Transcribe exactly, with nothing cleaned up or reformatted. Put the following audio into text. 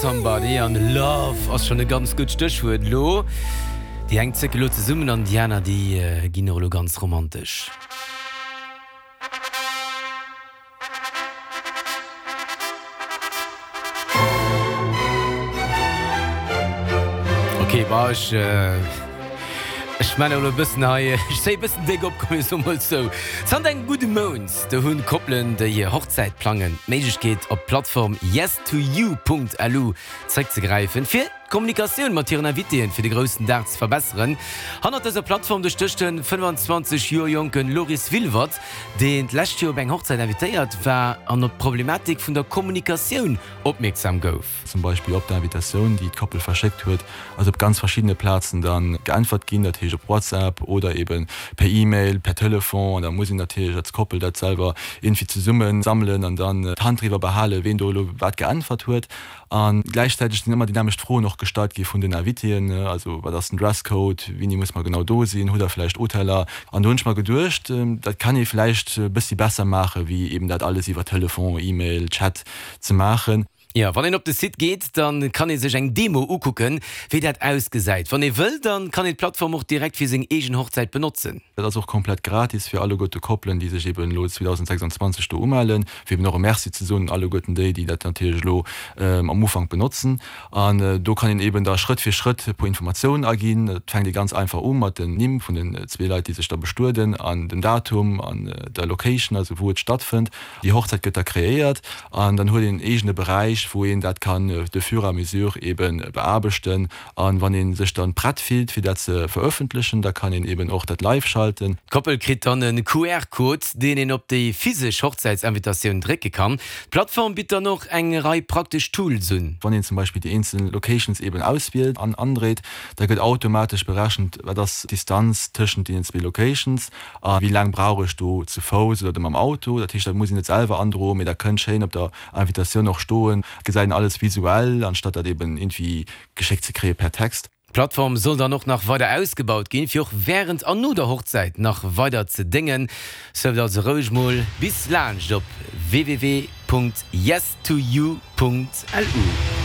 Somebody an Love ass schonn e ganz gutt Stéchwuert elo. Déi eng zécke lo zesummen an déi aner déi ginn och elo ganz romantesch. Ok, bah ech ech man elo e bëssen hei, ech zéie bëssen déck op, komm mir soe mol sou. Zanter engem gudde Mount do hunn Koppelen, déi hir Hochzäit plangen, d'Méiglechkeet op d'Plattform yestoyou.lu zréckzegräifen, fir d'Kommunikatioun mat hiren Invitéen fir de groussen Dag ze verbesseren. Hannert dëser Plattform do stécht de fënnfanzwanzeg Joer jonke Loris Wilwert, deen d'lescht Joer op eng Hochzäit invitéiert war an op d'Problematik vun der Kommunikatioun opmierksam gouf. Zum Beispill op der Invitatioun, déi d'Koppel verschéckt huet, ass op ganz verschiddene Plazen da geäntwert ginn, dat heescht op WhatsApp oder ebe per E-Mail, per Telefon. An da muss een natierlech als Koppel dat selwer iergendwéi zesumme sammelen an dann d'Hand driwwer behalen, ween do elo wat geäntwert huet. A gläichzäiteg sinn ëmmer déi nämmlecht Froen och gestallt gi vun den Invitéen, also wat ass den Dresscode, wéini muss mer genau do sinn, hutt der vläicht Hoteller? An do hunn ech mer geduecht, dat kann ee vläicht e bëssi besser maachen, wéi eben dat alles iwwer Telefon, E-Mail, Chat ze maachen. Jo, wann een op de Site geet, dann kann ee sech eng Demo ukucken, wéi dat ausgesäit. Wann ee wëll, dann kann een d'Plattform och direkt fir seng eegen Hochzäit benotzen. Dat ass och komplett gratis fir alleguerte Koppelen, déi sech eben elo zweedausendsechsundzwanzeg do umellen, fir eben och e Merci ze soen un alleguerten déi, déi dat natierlech elo am Ufank benotzen. An do kann een eben da Schrëtt fir Schrëtt e puer Informatiounen aginn. Et fänkt ee ganz einfach u mat den Nimm vun den zwee Leit, déi sech da bestueden, an dem Datum an der Location, also wou et stattfënnt. Déi Hochzäit gëtt da kreéiert an dann huet een en eegene Beräich, wou een dat kann de fur et à mesure eben beaarbechten. An wann ee sech dann prett fillt, fir dat ze verëffentlechen, da kann een eben och dat live schalten. D'Koppel kritt dann e Q R-Code, deen een op déi physesch Hochzäitsinvitatioun drécke kann. D'Plattform bitt dann och eng Rei praktesch Tools un. Wann een zum Beispill déi eenzel Locations eben auswielt an andréit, da gëtt automatesch berechent, wat ass d'Distanz tëschent deenen zwee Locations a wéi laang brauch ech do zu Fouss oder mam Auto. Dat heescht, dat muss een net selwer androen, mee dat kënnt schéin op der Invitatioun och stoen. Gesäit een alles visuell, anstatt dat eben iergendwéi geschéckt ze kréie per Text. D'Plattform soll dann och nach weider ausgebaut ginn, fir och wärend an no der Hochzäit nach weider ze déngen. Surft also roueg mol bis laanscht op www punkt yestoyou punkt lu.